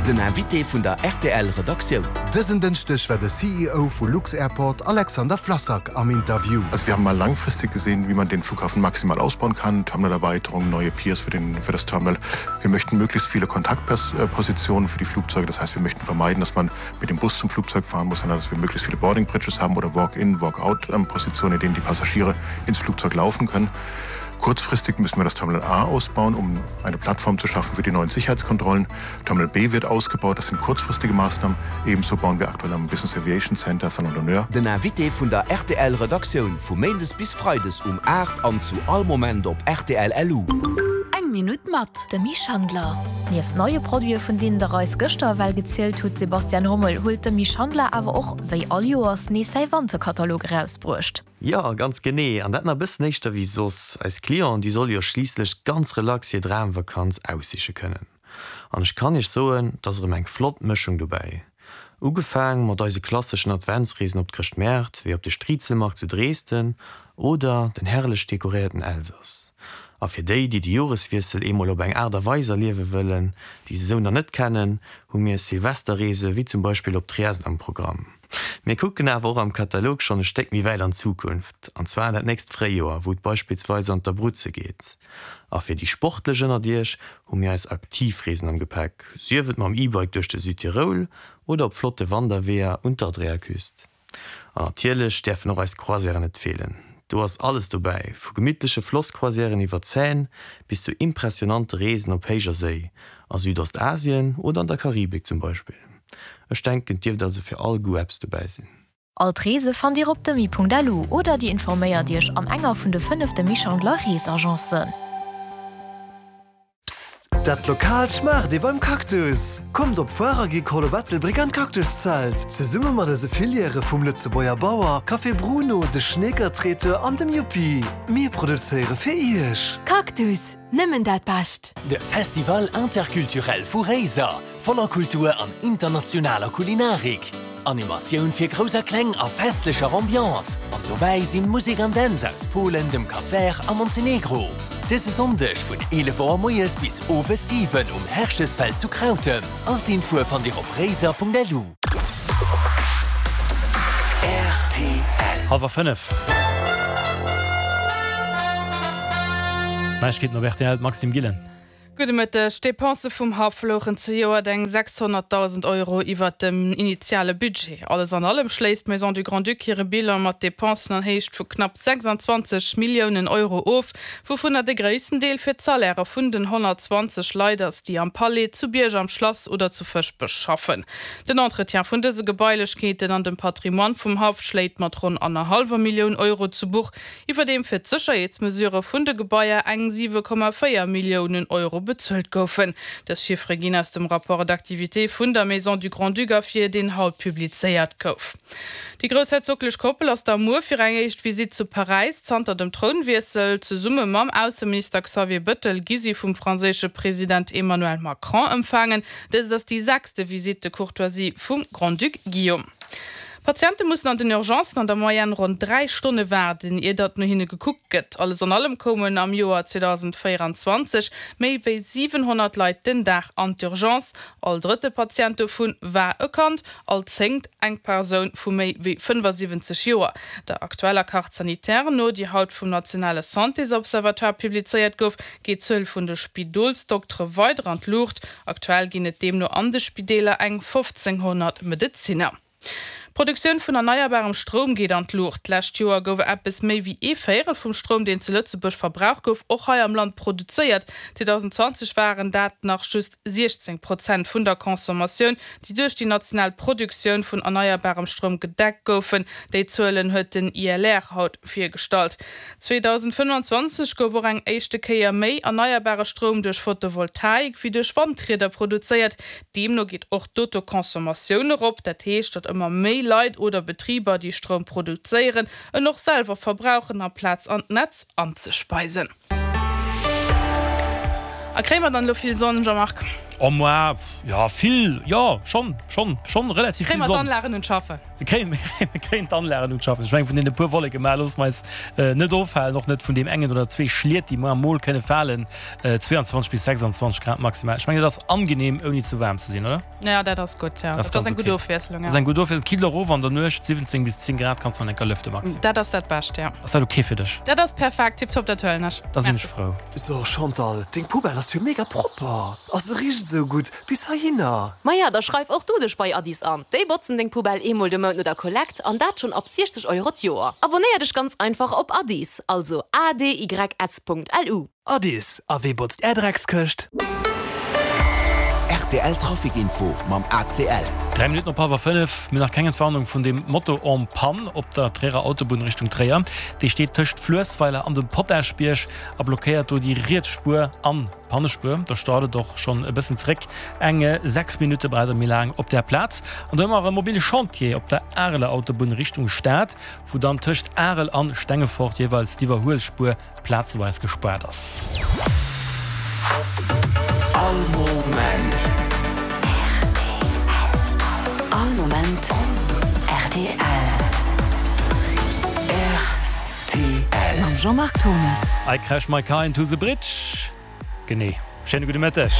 Den Invité vun der rtl Redaktioun. Dësen Dënschdeg war de CEO vu lux-Airport Alexander Flassak am Interview. Also wir haben mal langfristig gesehen, wie man den Flughafen maximal ausbauen kann, Terminalerweiterung, neue Piers für den für das Terminal. Wir möchten möglichst viele Kontaktpositionen für die Flugzeuge. Das heißt, wir möchten vermeiden, dass man mit dem Bus zum Flugzeug fahren muss, sondern dass wir möglichst viele Boarding Bridges haben oder Walk-in, Walk-out-Positionen, in denen die Passagiere ins Flugzeug laufen können. Kurzfristig müssen wir das Terminal A ausbauen, um eine Plattform zu schaffen für die neuen Sicherheitskontrollen. Terminal B wird ausgebaut, das sind kurzfristige Maßnahmen. Ebenso bauen wir aktuell am Business Aviation Center Salon d'honneur. Den Invité vun der rtl Redaktioun vu Méindes bis Freides um 8 an zu all Moment op rtl LU. Eng Minutt mat Demy Schandler. Nieft neie Produite vun deenen der eis gëschter ewell gezielt hutt, Sebastian Hommel, huet Demy Schandler awer och, wéi all Joers, nees säi Wanterkatalog erausbruecht. Jo, ganz genee, an dat nach e bëssen éischter wéi soss. Eis Clienten, déi solle jo schliisslech ganz relax hir Dramvakanz aussiche kënnen. An ech kann iech soen, et ass erëm eng flott Mëschung dobäi. Ugefaang mat eise klasseschen Adventsreesen op d'Chrëschtmäert, wéi op de Striezelmarkt zu Dresden oder den herrlech dekoréierten Elsass. A fir déi, déi de Joreswiessel eemol op eng Aart a Weis erliewe wëllen, déi se sou nach net kennen, hu mir Silvesterreese wéi zum Beispill op Triest am Programm. Mir kucken awer och am Katalog schonn e Stéck méi wäit an d'Zukunft, an zwar an dat nächst Fréijoer, wou et beispillsweis an d'Abruzze geet. A fir déi Sportlech ënnert Iech hu mir eis Aktivreesen am Gepäck, sief et mam E-Bike duerch de Südtiroul oder op flotte Wanderweeër un d'Adriaküst. An natierlech däerfen och eis Croisièren net feelen. Do ass alles dobäi, vu gemittleche Flosscroisièren iwwer d'Seine bis zu impressionante Reesen op héijer Séi, a Südostasien oder an der Karibik zum Beispill. Ech denken, et dierft also fir all Goût eppes dobäi sinn. All d'Reese fannt Dir op demy.lu oder Dir informéiert Iech an enger vun de 5 Demy Schandler Reesagencen. Psst! Dat Lokaalt schmaacht ee beim Cactus! Kommt op d'Foire Agricole op Ettelbréck an d'Cactuszelt! Zesumme mat eise Filièrë vum Lëtzebuerger Bauer, Café Bruno, de Schneeker Traiteur an dem Yuppi. Mir produzéiere fir Iech! Cactus, nëmmen dat Bescht! De Festival Interculturel vu Réiser, voller Kultur an internationaler Kulinarik. Animatioun fir Grouss a Kleng a festlecher Ambiance. An dobäi sinn Musek an Dänz aus Polen, dem Cap Vert a Montenegro. Dëse Sonndeg vun 11 Auer moies bis owes 7 um Herchesfeld zu Krautem. All d'Infoe fannt Dir op réiser.lu. Rtl. Hallwer 5. Neiegkeeten op rtl, d'Maxime Gillen. Gudde Mëtteg. D'Depensë vum Haff louchen zejoert eng 600.000 Euro iwwert dem initiale Budget. Alles an allem schléisst d'Maison du Grand-Duc hire Bilan mat Depensen an Héicht vu knapp 26 Milliounen Euro of, wouvunner de gréissten Deel fir d'Salairë vun den 120 Leit ass, déi am Palais, zu Bierg am Schlass oder zu Fëschbech schaffen. Den Entretien vun dëse Gebailechkeeten an dem Patrimoine vum Haff schléit mat ronn annerhallwer Millioun Euro zu Buch, iwwerdeem fir d'Sécherheetsmesurë vun de Gebaier eng 7,4 Milliounen Euro bezuelt goufen. Dës Chiffere ginn aus dem Rapport d'activité vun der Maison du Grand-Duc ervir, deen haut publizéiert gouf. Déi groussherzoglech Koppel ass da muer fir eng éischt Visitt zu Paräis zanter dem Trounwiessel. Zesumme mam Ausseminister Xavier Bëttel gi si vum franséische President Emmanuel Macron empfaangen. Dëst ass déi sechste Visite de courtoisie vum Grand-Duc Guillaume. Patiente mussen an den Urgencen an der Moyenne ronn 3 Stonne waarden, ier datt no hinne gekuckt gëtt. Alles an allem koumen am Joer 2024 méi wéi 700 Leit den Dag an d'Urgence. All drëtte Patient dovu war e Kand, all zéngt eng Persoun vu méi wéi 75 Joer. Der aktueller Carte sanitaire no, déi haut vum nationale Santésobservatoire publizéiert gouf, geet d'Zuel vun de Spidolsdoktere weider an d'Luucht. Aktuell ginn et deemno an de Spideeler eng 1.500 Medezinner. D'Produktioun vun erneierbarem Stroum geet an d'Luucht. D'lescht Joer gouf eppes méi wéi ee Véierel vum Stroum, deen zu Lëtzebuerg verbraucht gouf, och hei am Land produzéiert. 2020 waren dat nach just 16 Prozent vun der Consommatioun, déi duerch déi national Produktioun vun erneierbarem Stroum gedeckt goufen. Déi Zuelen huet den ILR haut virgestallt. 2025 gouf och eng éischte Kéier méi erneierbare Stroum duerch Photovoltaik wéi duerch Wandrieder produzéiert. Deemno geet och d'Autoconsommatioun erop, dat heescht, datt ëmmer méi Leit oder Betriber, déi Stroum produzéieren, en och selwer verbrauchen, amplaz an d'Netz anzespeisen. A kréie mer dann elo vill Sonn, Jean-Marc? Oh moi, jo vill, jo schonn, schonn, schonn relativ vill Sonn. Kréie mer d'Anlagen un d'Schaffen? Kréien, mir kréien d'Anlagen un d'Schaffen. Ech mengen, vun deene puer Wolleke mar loosse mer eis net ofhalen, och net vun deem engen oder zwee Schliet, déi mar mol kënne falen. 22 bis 26 Grad maximal. Ech mengen, dat ass angenehm, ouni ze waarm ze sinn, oder? Ja, dat ass gutt, jo. Dat ass eng gutt Ofwiesslung, jo. Dat ass eng gutt Ofwiesslung. Et killt och of an der Nuecht, 17 bis 10 Grad kanns du an enker lëfte, Maxime. Dat ass dat Bescht, jo. Ass dat ok fir dech? Dat ass perfekt, tiptop, dat huelen ech. Da sinn ech frou. So Chantal, deng Poubelle ass jo mega propper a se richt esou gutt bis heihinner. Maja, da schreif och du dech bei Addis an. Déi botzen deng Poubelle eemol de Mount no der Kollekt an dat schonn ab 60 Euro d'Joer. Abonnéier dech ganz einfach op Addis, also adys.lu. Addis, a wee botzt är Dreckskëscht? Rtl Trafic Info mam ACL. 3 Minutten op hallwer 5. Mir nach keng Entwarnung vun dem Moto en panne op der Tréierer Autobunn Richtung Tréier. Dee steet tëscht Fluessweiler an dem Potaschbierg a blockéiert do déi riets Spuer an d'Pannespuer. Do staut et och schonn e bëssen zeréck. Eng 6 Minutte braucht et méi laang op där Plaz. An do hu mer e mobile Chantier op der Areler Autobunn Richtung Stad, wou dann tëscht Arel an Stengefort jeeweils d'Iwwerhuelspuer plazeweis gespaart ass. All Moment. All Moment rtl. Rtl. Mam Jean-Marc Thomas. I crash my car into the bridge. Genee. Schéine gudde Mëtteg.